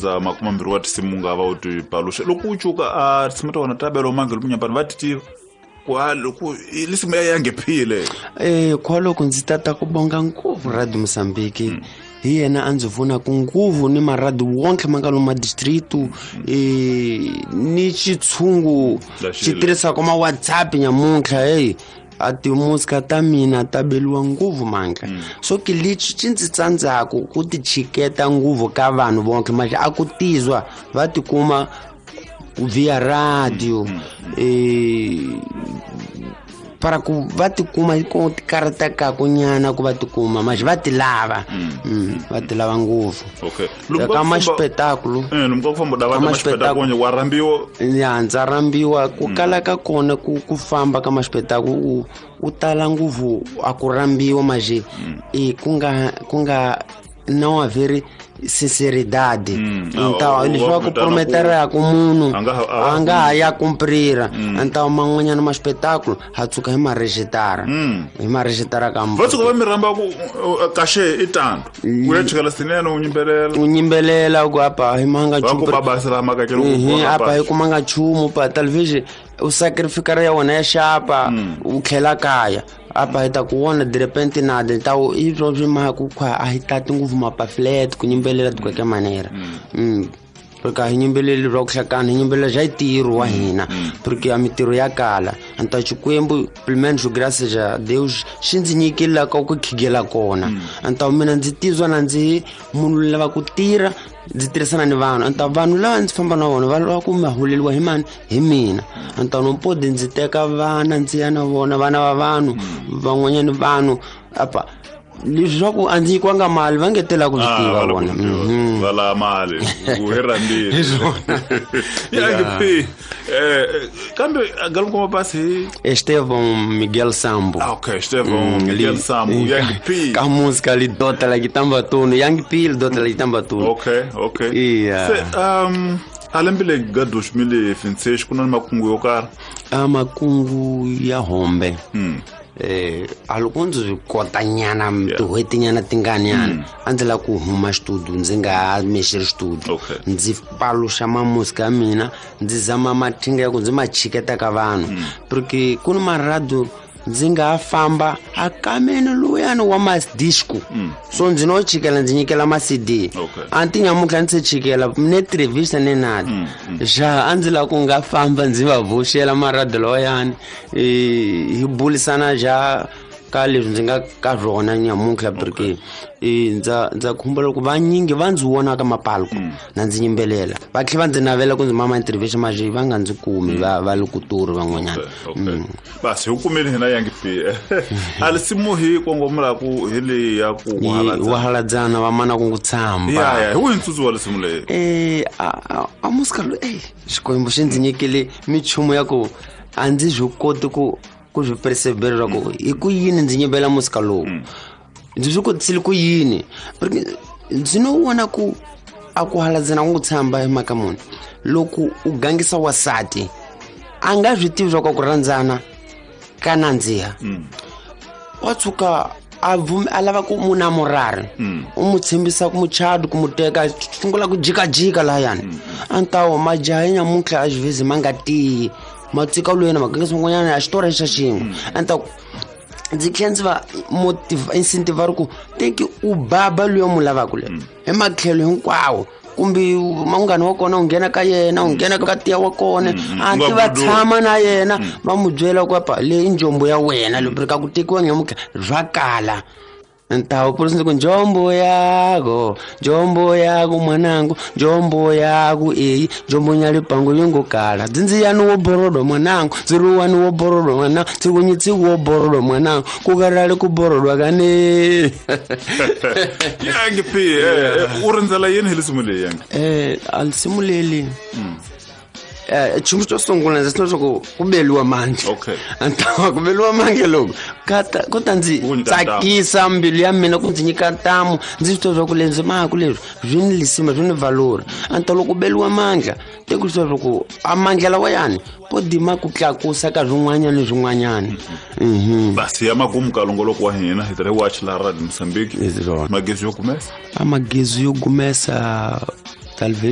Za 20 wa tinsimu nga va u ti paluxa loko u cuka a tinsimu ta wena ta belo mange lomu nyampani va ti tiva ku a loko lisimu ya yangephile. Kwaloko ndzi tata ku bonga ngopfu Radio Mozambique. Hi yena a ndzi pfunaka nguvu ni maradi wonke ma nga lomu madistritu, ni xitshungu xi tirhisaka ma WhatsApp nyamuntlha. Hey, a timusika ta mina ta beliwa nguvu mandla. So ke lexi xi ndzi tsandzaku ku ti chiketa nguvu ka vanhu vonke manje a ku tizwa va tikuma via radio, para ku va tikuma ko ti karhatekaku nyana ku va tikuma manje va ti lava. Va ti lava ngopfu. Okay. Ka maxipetakulu. Lomu ka ku famba da va Ka maxipetakulu wa rambiwa. Ya, ndza rambiwa ku kala ka kona ku famba ka maxipetakulu u tala ngopfu a ku rambiwa manje ku nga não haver sinceridade. Então, eles vão comprometer ku munhu a nga ha ya cumprira. Então man'wanyana ma espetáculo ha tsuka hi ma rejitara. Hi ma rejitara ka Va tshuka va mi rhamba ku kaxe i tando. Ku ya chikela sinene u yimbelela. U yimbelela ku apa hi manga Va ku nchumu. ba basela maka ke loko Apa hi kumanga nchumu pa talvez u sacrificar ya wena ya xapa u tlhela kaya. Apa hi ta ku vona de repente nada. Então i swo swi mhaka ku khwa a hi tati ngopfu mapaflet ku yimbelela de qualquer maneira. Porque a hi yimbeleli ra ku hlakana, hi yimbelela xa ntirho wa hina, porque a mintirho ya kala. Então Xikwembu, pelo menos graças a Deus, xi ndzi nyikile la ka ku khigela kona. Então mina ndzi tizwa na ndzi munhu lava ku tirha, ndzi tirhisana ni vanhu. Então vanhu lava ndzi famba na vona va lava ku ma holeliwa hi mani? Hi mina. Então no pode ndzi teka vana ndzi ya na vona, vana va vanhu, van'wanyana vanhu apa leswi swa ku a ndzi nyikiwanga mali va nge tela ku swi tiva Va lava vona. ku tiva. Va lava mali ku hi rhambile. Hi swona. Ya, ngi kambe Galuko Mapasi hi Estevão Miguel Sambo. Ah, okay, Estevão Miguel Sambo, Yang P. Ka música ali dota la kitamba tuno, Yang P dota la kitamba tuno. Okay, okay. Yeah. Se, a lembe le ga 2026 ku na makungu yo karhi? A makungu ya hombe. A loko ndzi swi kota nyana, tin'hweti nyana tingani nyana, a ndzi lava ku huma studio, ndzi nga ha mexeri studio. Ndzi paluxa mamusika ya mina, ndzi zama mathinga ya ku ndzi ma chiketa ka vanhu. Porque ku ni marado ndzi nga ha famba a kameni luyani wa madisco. So ndzi no chikela ndzi nyikela ma CD. A ti nyamuntlha ndzi se chikela ne televisa ne nada. Ja a ndzi lava ku nga famba ndzi va vuxela marado lawayani, hi burisana ja ka leswi ndzi nga ka rona nyamuntlha, porque ndza khumba loko vanyingi va ndzi vona ka mapalko na ndzi yimbelela, va tlhela va ndzi navela ku ndzi mama interview manje va nga ndzi kumi, va le kuturi van'wanyana. Basi hi kumile hina Yang P. A lisimu hi kongomelaku hi leyi ya ku Hi wahaladzana va mana ku tshamba. Ya, ya, hi wihi ntsutsu wa lisimu leyi? A musika loyi, Xikwembu xi ndzi nyikile minchumu ya ku a ndzi swi koti ku swi persevera ku hi ku yini ndzi yimbela musika lowu. Ndzi swi kotisile ku yini? Porque ndzi no vona ku a ku haladzana ku tshamba hi mhaka muni. Loko u gangisa wasati a nga swi tivi swa ku rhandzana ka nandziha. Wa tshuka a a lava ku munhu a murari. U n'wi tshembisa ku muchado ku mu teka, sungula ku jikajika lahayani. A ni ta majaha ya nyamuntlha a xivhezi ma nga tiyi. Ma tsika loyi na magangisa van'wanyana a xitori xa xin'we. A ni ta ku ndzi tlhela ndzi va incentive ri ku teki u baba loyi u n'wi lavaka le. Hi matlhelo hinkwawo. Kumbe munghana wa kona u nghena ka yena, u nghena ka tiya wa kona, a U nga ti va budu. tshama na yena, va n'wi byela ku apa leyi i njombo ya wena, loko ka ku tekiwa nyamuntlha swa kala. Ntawo purisi ndzi ku njombo yako, njombo yako mwanangu, njombo yako eyi, njombo nyalipango yongo kala. Dzinziyani wo borodo mwanangu, dziruwani wo borodo mwanangu, dzikunyitsi wo borodo mwanangu, kukarale ku borodwa kane. Yang P, u rindzela yini hi lisimu leyi, Yang? A lisimu leli. Nchumu xo sungula ndzi swi ku ku beliwa mandla. A ni ta ku beliwa mandla loko ku ta ndzi Ku nyika ntamu. tsakisa mbilu ya mina, ku ndzi nyika ntamu, ndzi swi tiva swa ku leswi maku leswi swi ni lisima, swi ni valori. A ni ta loko ku beliwa mandla, te ku swi tiva swa ku a mandla lawayani po dima ku tlakusa ka swin'wanyana ni swin'wanyana. Basi ya makumu ka longoloko wa hina hi tirhe watch la Radio Mozambique. Hi swona. Magezi yo gumesa? A magezi yo gumesa talvez